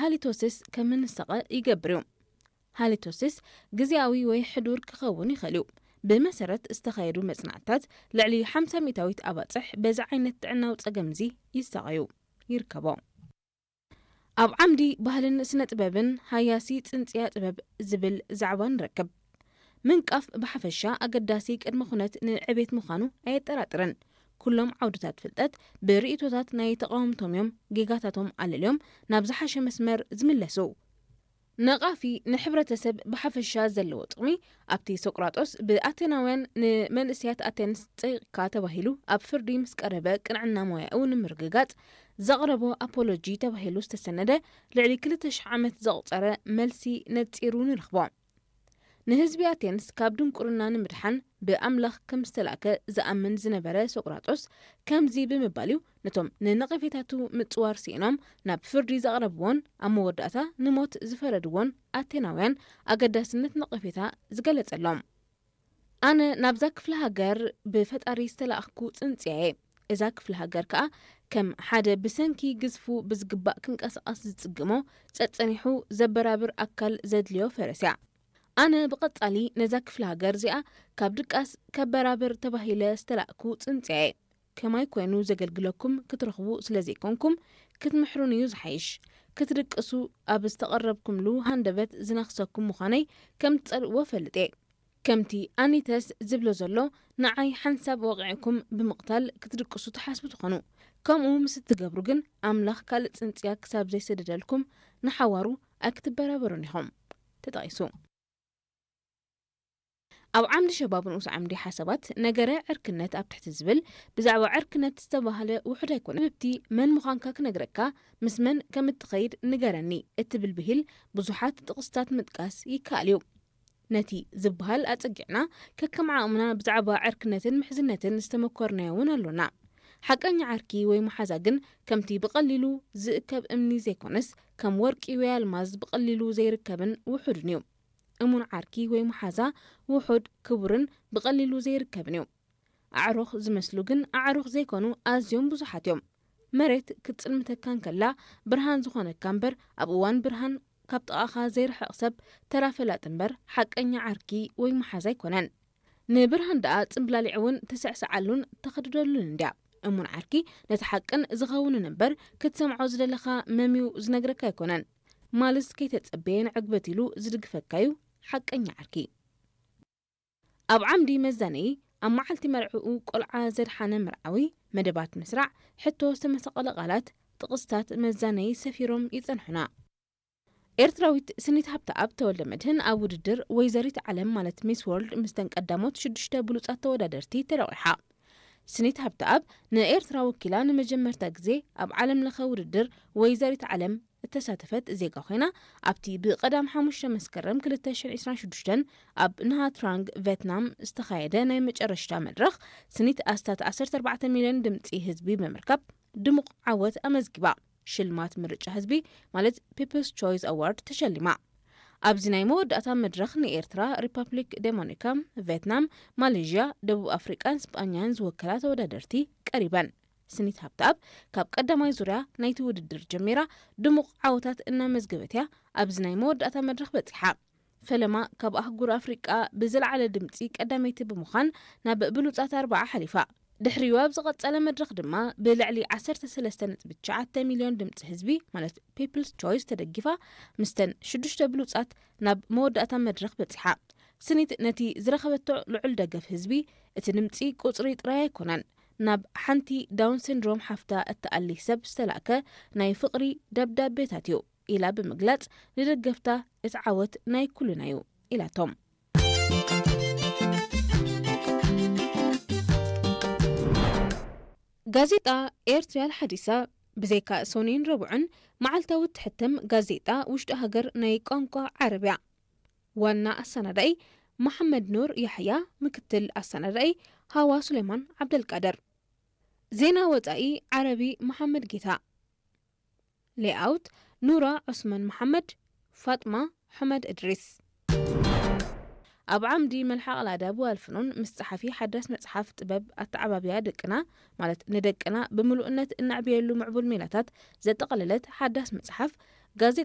ሃሊቶሲስ ከም እንሰቐ ይገብር እዩ። ሃሊቶሲስ ግዜያዊ ወይ ሕዱር ክኸውን ይኽእል እዩ። ብመሰረት ዝተኻየዱ መጽናዕትታት፣ ልዕሊ ሓምሳ ሚእታዊት ኣባጽሕ በዚ ዓይነት ጥዕናዊ ጸገም እዚ ይሳቐዩ ይርከቦ። ኣብ ዓምዲ ባህልን ስነ ጥበብን ሃያሲ ጽንጽያ ጥበብ ዝብል ዛዕባ ንረክብ። ምንቃፍ ብሓፈሻ ኣገዳሲ ቅድመ ኩነት ንዕቤት ምዃኑ ኣየጠራጥርን። ኩሎም ዓውድታት ፍልጠት ብርእይቶታት ናይ ተቓወምቶም እዮም ጌጋታቶም ኣለልዮም ናብ ዝሓሸ መስመር ዝምለሱ። ነቓፊ ንሕብረተሰብ ብሓፈሻ ዘለዎ ጥቕሚ ኣብቲ ሶቅራጦስ ብኣቴናውያን ንመንእሰያት ኣቴንስ ጸይቕካ ተባሂሉ ኣብ ፍርዲ ምስ ቀረበ ቅንዕና ሞያኡ ንምርግጋጽ ዘቕረቦ ኣፖሎጂ ተባሂሉ ዝተሰነደ ልዕሊ ክልተ ሽሕ ዓመት ዘቑጸረ መልሲ ነጺሩ ንረኽቦ። ንህዝቢ ኣቴንስ ካብ ድንቁርና ንምድሓን ብኣምላኽ ከም ዝተላእከ ዝኣምን ዝነበረ ሶቅራጦስ ከምዚ ብምባል እዩ ነቶም ንነቐፌታቱ ምጽዋር ስኢኖም ናብ ፍርዲ ዘቕረብዎን ኣብ መወዳእታ ንሞት ዝፈረድዎን ኣቴናውያን ኣገዳስነት ነቐፌታ ዝገለጸሎም። ኣነ ናብዛ ክፍለ ሃገር ብፈጣሪ ዝተላእኽኩ ጽንጽያ እየ። እዛ ክፍለ ሃገር ከኣ ከም ሓደ ብሰንኪ ግዝፉ ብዝግባእ ክንቀሳቐስ ዝጽግሞ ጸጸኒሑ ዘበራብር ኣካል ዘድልዮ ፈረስ እያ። ኣነ ብቐጻሊ ነዛ ክፍለ ሃገር እዚኣ ካብ ድቃስ ከበራብር ተባሂለ ዝተላእኩ ጽንጽያ እየ። ከማይ ኮይኑ ዘገልግለኩም ክትረኽቡ ስለ ዘይኮንኩም ክትምሕሩኒ እዩ ዝሓይሽ። ክትድቅሱ ኣብ ዝተቐረብኩምሉ ሃንደበት ዝነኽሰኩም ምዃነይ ከም ትጸልእዎ እፈልጥ እየ። ከምቲ ኣኒተስ ዝብሎ ዘሎ፣ ንዓይ ሓንሳብ ወቒዕኩም ብምቕታል ክትድቅሱ ትሓስቡ ትኾኑ። ከምኡ ምስ እትገብሩ ግን ኣምላኽ ካልእ ጽንጽያ ክሳብ ዘይሰደደልኩም ንሓዋሩ ኣይክትበራበሩን ኢኹም። ተጠቒሱ። ኣብ ዓምዲ ሸባብ ንኡስ ዓምዲ ሓሳባት ነገረ ዕርክነት ኣብ ትሕቲ ዝብል ብዛዕባ ዕርክነት ዝተባህለ ውሑድ ኣይኮነ። ብብቲ መን ምዃንካ ክነግረካ፣ ምስ መን ከም እትኸይድ ንገረኒ እትብል ብሂል ብዙሓት ጥቕስታት ምጥቃስ ይከኣል እዩ። ነቲ ዝበሃል ኣጸጊዕና ከከም ዓቕምና ብዛዕባ ዕርክነትን ምሕዝነትን ዝተመኮርናዮ እውን ኣሎና። ሓቀኛ ዓርኪ ወይ መሓዛ ግን ከምቲ ብቐሊሉ ዝእከብ እምኒ ዘይኮነስ፣ ከም ወርቂ ወይ ኣልማዝ ብቐሊሉ ዘይርከብን ውሑድን እዩ። እሙን ዓርኪ ወይ መሓዛ ውሑድ፣ ክቡርን ብቐሊሉ ዘይርከብን እዩ። ኣዕሩኽ ዝመስሉ ግን ኣዕሩኽ ዘይኮኑ ኣዝዮም ብዙሓት እዮም። መሬት ክትጽልምተካ እንከላ ብርሃን ዝኾነካ እምበር፣ ኣብ እዋን ብርሃን ካብ ጥቓኻ ዘይርሕቕ ሰብ ተራ ፈላጥ እምበር ሓቀኛ ዓርኪ ወይ መሓዛ ኣይኮነን። ንብርሃን ደኣ ጽምብላሊዕ እውን ትስዕስዓሉን ተኸድደሉን እንድያ። እሙን ዓርኪ ነቲ ሓቅን ዝኸውንን እምበር ክትሰምዖ ዝደለኻ መምዩ ዝነግረካ ኣይኮነን። ማልስ ከይተጸበየ ንዕግበት ኢሉ ዝድግፈካዩ ሓቀኛ ዓርኪ። ኣብ ዓምዲ መዛነዪ ኣብ መዓልቲ መርዕኡ ቆልዓ ዘድሓነ መርዓዊ፣ መደባት ምስራዕ፣ ሕቶ ዝተመሰቐለ ቃላት፣ ጥቕስታት መዛነዪ ሰፊሮም ይጸንሑና። ኤርትራዊት ስኒት ሃብተኣብ ተወልደ መድህን ኣብ ውድድር ወይዘሪት ዓለም ማለት ሚስ ወርልድ ምስተን ቀዳሞት ሽዱሽተ ብሉጻት ተወዳደርቲ ተለቒሓ። ስኒት ሃብተኣብ ንኤርትራ ወኪላ ንመጀመርታ ግዜ ኣብ ዓለም ለኸ ውድድር ወይዘሪት ዓለም እተሳተፈት ዜጋ ኮይና፣ ኣብቲ ብቐዳም ሓሙሽተ መስከረም ክልተ ሽሕን ዕስራን ሽዱሽተን ኣብ ናሃትራንግ ቬትናም ዝተኻየደ ናይ መጨረሽታ መድረኽ ስኒት ኣስታት ዓሰርተ ኣርባዕተ ሚልዮን ድምጺ ህዝቢ ብምርካብ ድሙቕ ዓወት ኣመዝጊባ። ሽልማት ምርጫ ህዝቢ ማለት ፒፕልስ ቾይስ ኣዋርድ ተሸሊማ። ኣብዚ ናይ መወዳእታ መድረኽ ንኤርትራ፣ ሪፐብሊክ ዴሞኒካ፣ ቬትናም፣ ማሌዥያ፣ ደቡብ ኣፍሪቃን ስጳኛን ዝወከላ ተወዳደርቲ ቀሪበን። ስኒት ሃብተኣብ ካብ ቀዳማይ ዙርያ ናይቲ ውድድር ጀሚራ ድሙቕ ዓወታት እናመዝገበት እያ ኣብዚ ናይ መወዳእታ መድረኽ በጺሓ። ፈለማ ካብ ኣህጉር ኣፍሪቃ ብዝለዓለ ድምጺ ቀዳመይቲ ብምዃን ናብ ብሉጻት ኣርባዓ ሓሊፋ። ድሕሪኡ ኣብ ዝቐጸለ መድረኽ ድማ ብልዕሊ ዓሰርተ ሰለስተ ነጥቢ ትሽዓተ ሚልዮን ድምጺ ህዝቢ ማለት ፒፕልስ ቾይስ ተደጊፋ ምስተን ሽዱሽተ ብሉጻት ናብ መወዳእታ መድረኽ በጺሓ። ስኒት ነቲ ዝረኸበቶ ልዑል ደገፍ ህዝቢ እቲ ድምጺ ቁጽሪ ጥራይ ኣይኮነን፣ ናብ ሓንቲ ዳውን ሲንድሮም ሓፍታ እትኣሊ ሰብ ዝተላእከ ናይ ፍቕሪ ደብዳቤታት እዩ ኢላ ብምግላጽ፣ ንደገፍታ እቲ ዓወት ናይ ኩልና እዩ ኢላቶም። ጋዜጣ ኤርትርያ ኣልሓዲሳ ብዘይካ ሶኒን ረቡዕን መዓልታዊ እትሕተም ጋዜጣ ውሽጢ ሃገር ናይ ቋንቋ ዓረብ እያ። ዋና ኣሰናዳኢ መሓመድ ኑር ያሕያ፣ ምክትል ኣሰናዳኢ ሃዋ ሱሌማን ዓብደልቃድር። ዜና ወጻኢ ዓረቢ መሓመድ ጌታ። ሌኣውት ኑራ ዑስማን መሓመድ፣ ፋጥማ ሑመድ እድሪስ። ኣብ ዓምዲ መልሓቕ ኣልኣዳብ ወኣልፍኑን ምስ ጸሓፊ ሓዳስ መጽሓፍ ጥበብ ኣተዓባብያ ደቅና፣ ማለት ንደቅና ብምሉእነት እነዕብየሉ ምዕቡል ሜላታት ዘጠቓለለት ሓዳስ መጽሓፍ ጋዜጣ